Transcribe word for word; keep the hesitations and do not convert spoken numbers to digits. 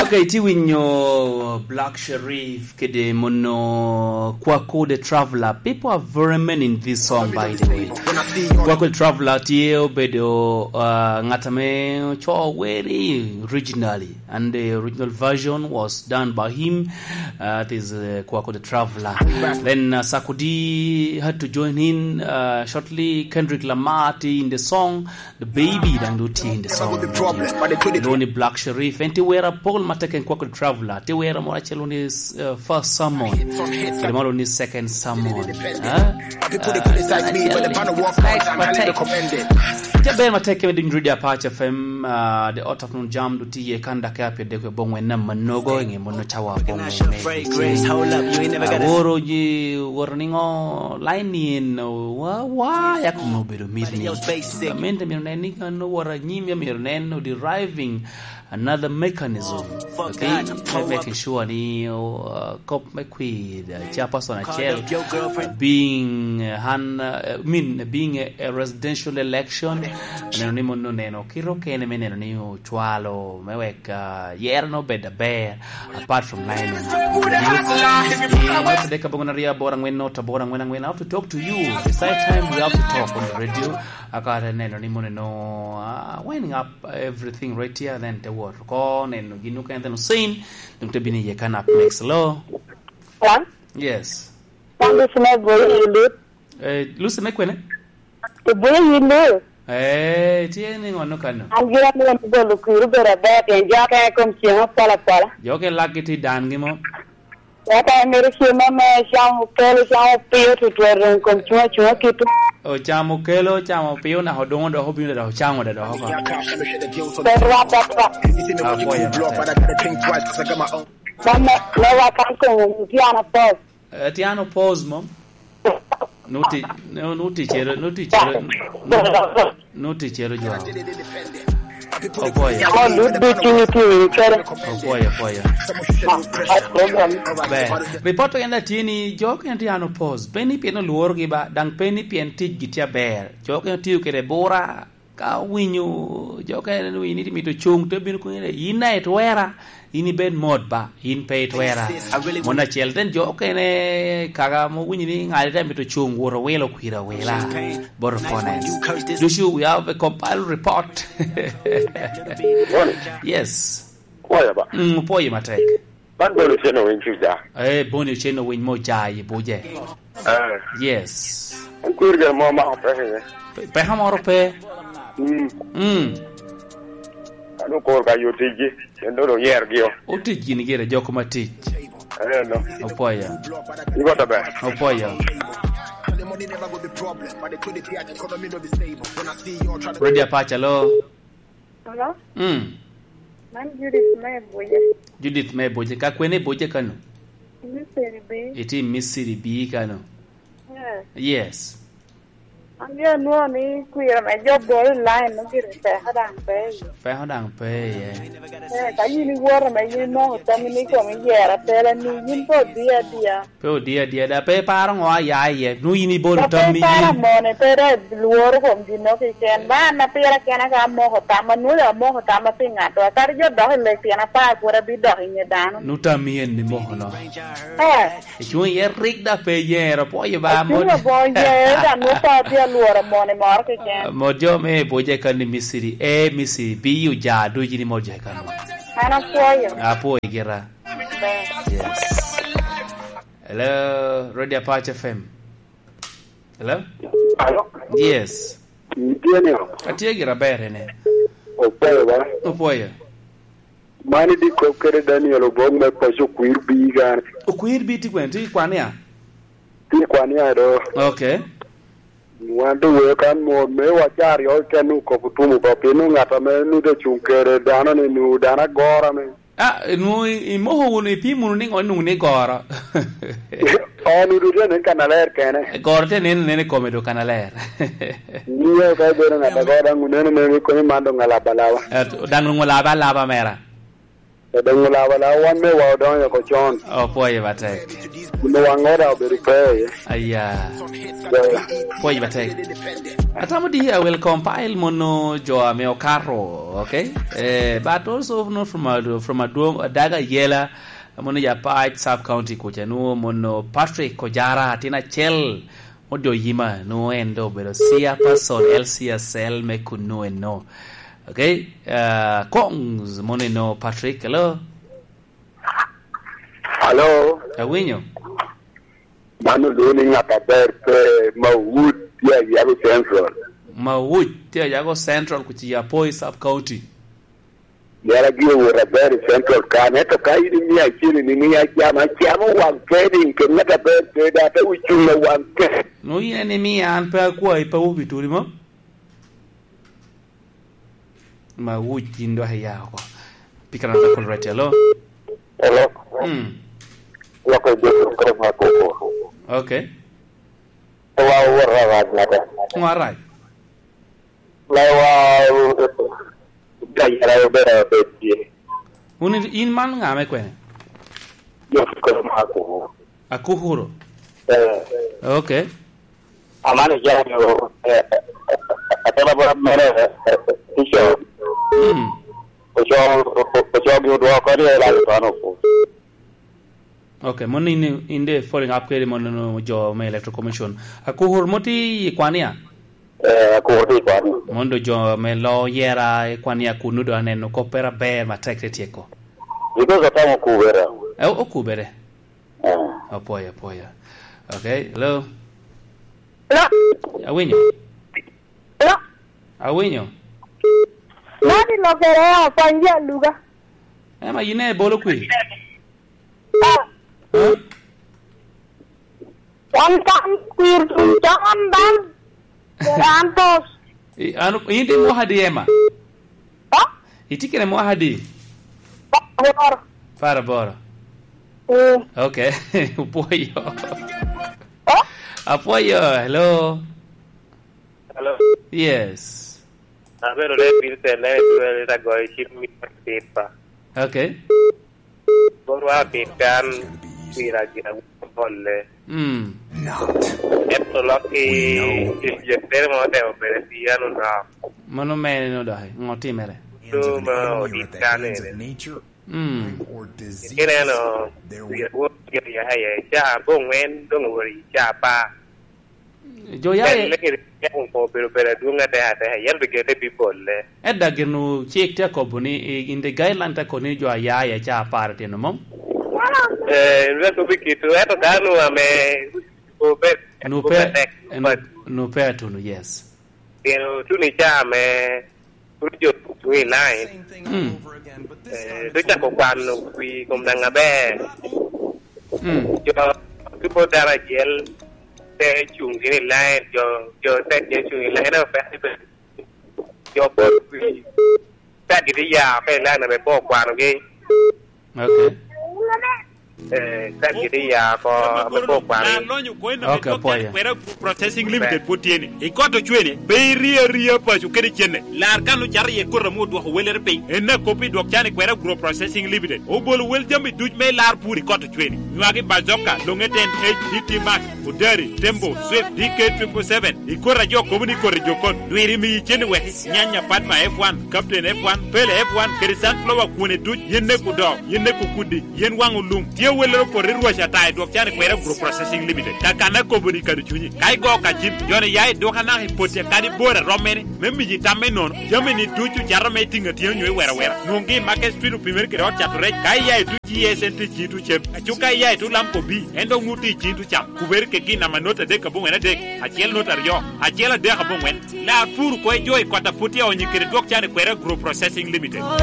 Okay, ti winyo Black Sherif kede mono Kwaku the Traveler. People are very many in this song, by the way. Kwaku the Traveler tye obedo, uh, ngat ame oco weri originally, and the original version was done by him. Uh, that is, uh, Kwaku the Traveler. Then, uh, Sarkodie had to join in, uh, shortly. Kendrick Lamar tye in the song. The Baby daŋ doŋ tye in the song. Lwongo ni Black Sherif. En tye wera apol ma teke en Kwaku the Traveler. Tye wera moro acel lwongo ni, uh, First Sermon. Kede moro lwongo ni Second Sermon. Huh? Uh, respect matek. Tye ber matek keme duny Radio Apac F M, uh, the Art of Nun Jam doŋ tye iye kan dakika pyerdek wiye abongwen na manogo i ŋe mono cawa abongwen me Aworo ji woro niŋo line ni en, wa, wa, yak onwoŋo obedo mit ni. Gamente myero nen ni kan oworo anyim, ya myero nen o deriving another mechanism. Okay? Me making sure ni, uh, kop me kwir, uh, chairperson acel, uh, being, uh, han, uh, I mean, being a, a residential election, neno ni mono neno kite okene me neno ni ocwalo, me wek, uh, yero no bed aber. Apart from nine, eh, not today, kabongo na ria, bora ngwen, not bora ngwen, ngwen. I have to talk to you. Beside time, we have to talk on the radio. I got to neno ni mono no, uh, winding up everything right here, then te work. Ko neno gino kan then Hussein, dum te bini ye kan up next. Hello? Hello? Yes. Thank you, Smith. Boy, you did. Eh, Lucy, me kwene? Ibuyo yin ni? Eh, tye ni ŋo no kano? An gira ni en bolo kuru bedo aber, pien jo ka i kom ceng opola pola. Jo ke lak gi ti dan gi mo? Wata en mere cem ame cam okelo, cam opio tutwal, dong kom cunga cunga kitu. O cam okelo, cam opio, naka odongo dok obino dok ocaŋo dok oko. Pe rwat atwa. Apwoyo matek. Mama, ne wakan kom piano pos. Eh, ti an opos mo? Nuti, nu-, nuti cero, nuti cero, nu-, nuti cero jo. Opoyo. Mo lut ducu ni ti winy kere. Opoyo, opoyo. Ma, ma problem. Be, report en da tye ni jo okene ti an opos. Pe ni pien olworogi ba, daŋ pe ni pien ticgi tye aber. Jo okene tiyo kede bura, ka owinyo jo okene ni winyo ni mito cuŋ, te obino kono ni, "In daŋ itwera, in ibed mot ba, in pe itwera." Mon acel, then jo okene kaka mo winyo ni ŋat te mito cuŋ, wot owilo kwir awila. Bot opponents. Ducu, we have a compiled report. Yes. Kwaya ba. Mm, opwoyo matek. Man Boni Ochen Owiny Cuja. Eh, Boni Ochen Owiny mo ca i buje. Eh. Yes. En kwir gin mo ma ope. Pe-, peka moro pe. Mm. Mm. Ano kor ka yo tijgi, en doŋ oyer gi o. Otic gini gire jok ma tic. Eh, no. Opoyo. Igo to ber. Opoyo. Radio Apac, hello. Hello? Mm. Man Judith me Buja. Judith me Buja. Ka kwene i Buja kano? Misiri bi. Iti Misiri bi kano? Yeah. Yes. An jo anwoŋo ni kwira me jo bolo line no gire peko daŋ pe iye. Peko daŋ pe iye. Eh, ka yin iwoto me yin imoko tammi ni kom iyero atela ni yin pe odiyo adiya. Pe odiyo adiya, da pe iparo ŋo a ya iye, nu yin ibolo tammi yin. Pe iparo mone, pe dok lworo kom gin no keken. Ba an apira kena ka amoko tamma, nwoŋo amoko tamma pi ŋato. Kadi jo dok i lek pien apar pwod abidok i nge dano. Nu tammi en ni moko no. Eh. Icuŋ iye rik da pe yero, pwoyo ba. Acuŋ mot. Aboŋo yero, da nwoŋo pe atye alworo mone moro keken. Mot jo me Buja kan ni Misiri, eh, Misiri, bi oja ducu ni mot jo kan. An apwoyo. Apwoyo gira. Yes. Hello, Radio Apac F M. Hello? Alo? Yes. Itye ni o? Atye gira ber ene. Opwoyo ba? Opwoyo. Mani di kop kede Daniel Obong me paco okwir bi gane. Okwir bi ti gwen, ti kwan ya? Ti kwan ya do. Okay. Wan doŋ weo kan mo, me wacar yo ken nu kop otumo ba, pien nu ŋat ame nu doŋ cuŋ kede dano ni nu dano agora me. Ah, nu i-, imoko wunu, ipimo wunu ni ŋo nwoŋo ni goro? Oh, nu doŋ tye nen kan aler kene. Goro tye nen, nen i kome doŋ kan aler. Ni yo ka ibedo ŋat agora daŋ uneno nen ikonyo man doŋ alaba alaba. Eh, daŋ nwoŋo laba alaba mera. Odoŋ olabo lawa wan me wa odonyo oko con. Opwoyo matek. Onongo waŋ ora obedo pe iye. Aya. Yeah. Pwoc batek. Atamo di, I will compile mono jo ame okato, okay? Eh, but also not from a, from adwong, adaga yela, mono ya Pac sub county kuca, nu mono Patrick Ojara, atin acel, modo yima, nu en do obedo chairperson L C S L me kunu eno. Okay? Uh, Kongs, mono eno Patrick, hello? Hello? Awinyo. Mano lwongo ni ŋat aber pe Mawut tye Ayago Central. Mawut tye Ayago Central, kuci Apoi Sub County. Yara gire wot aber i Central kan, ento ka in imio acel ni mi acam, acamo waŋ keni, ket ŋat aber pe da, te wicuŋ na waŋ keni. No in en imio an pe akwayi, pe wubituri mo? Ma wuc yin dok iya oko. Pika na dakul right, hello? Hello? Mm. Loko i Jesu Kristo ma koko. Okay. Wa wora rac mata. Ŋo arac? Ma wa, ja yera obedo abed tye. Wun in, in man ŋa me kwene? Jesu Kristo ma koko. Akukuro? Eh. Okay. Amano jami o, eh, eh, atela bora mere, eh, eh, ico. Mm. Oco, o-, o-, ocogi odwoko ni elac otono opo. Okay, mon in, in de following up kede mon no jo me Electoral Commission. Akukuro mo ti i kwania? Eh, akukuro ti i kwania. Mon do jo me lo yera i kwania kunu do aneno koppere aber matek te tyeko. Because atamo okubere. Eh, okubere. Eh. Apwoyo, apwoyo. Okay, hello? Hello? Awinyo? Hello? Awinyo? Nadi lokere, apwony ji aluga. Ema yin e bolo kwi? Ah. Huh? Wan kan kwir tuŋ cawan daŋ, Santos. I, an, in itye mwaka adi, Emma? Ha? Itye kene mwaka adi? Apar aboro. Apar aboro? Mm. Okay. Opwoyo. Ha? Apwoyo. Hello? Hello? Yes. Abedo ne Vincent, ne dwere ta goyo cim mi pipa. Okay. Borwa tit kan pira gin awinyo bolle. Mm. Ento lok i, i jere mo otemo bedo pi an onok. Mano mene no doki, ŋo timere? Ento ma odit kan ene. Mm. Kineno, wi adwog gin ya aye, ca abongwen, dong owori ca apar. Jo ya e- Tek, tek obedo, obedo adwoŋ atek atek, yam bigete bibolle. Edda gin cik tye akobo ni, i, in the guideline tye akobo ni jo a ya i ca apar tino mom? Eh, lwak obikito, ento dano ame obed, nu pe, obed tek, nu, nu pe atunu, yes. Pien otuno i caa me pwod jo tuŋ i lain. Mm. Eh, te cako kwano wi kom daŋ aber. Mm. Jo, ki pwod dano acel te cuŋ gini i lain, jo, jo te acel cuŋ i lain, ento pe, jo pwod wi, te giti ya oko i lain ame pe okwanogi. Okay. Eh, ka giti ya oko, ame pe okwano. Okay, apwoyo. Kwera Group Processing Limited pwod tye ni. I kot ocwene, pe iri aria paco kede cene. Lar kan ocato iye koti ame odwoko welere piny. En akop i dwok can i Kwera Group Processing Limited. Obolo wel jami duc me lar pur i kot ocwene. Nywagi Bazooka, Long-ten, H D T Max, Odari, Tembo, Swift, D K triple seven. I koti a jo kobo ni koti jokon. Dwiri miyi cene wek nyanya Padma F one, Captain F one, Pele F one, kede sunflower kwone duc, yen neko doo, yen neko kudi, yen waŋ olum. Tye welere opoto i rwac ata i dwok can i Kwera Group Processing Limited. Kakana kobo ni kado cunyi. Ka igo ka cim, joni ya i duka naka i poti akadi bor a romme ni, me miyi tam me nono. Jami ni ducu cato me tiŋ atyeno nyo i wera wera. Nwoŋgi i Market Street opimere kede ot cato rec. Ka iya i tuc G S N T ciŋ tuc cem. Aco ka iya i tuc Lamco B, en dok nwoŋo tye i ciŋ tuc cam. Kubere kede gin namba not adek aboŋwen adek, acel not aryo, acel adek aboŋwen. Lar pur oko i jo i kot a pwod tye onyo kede dwok can i Kwera Group Processing Limited.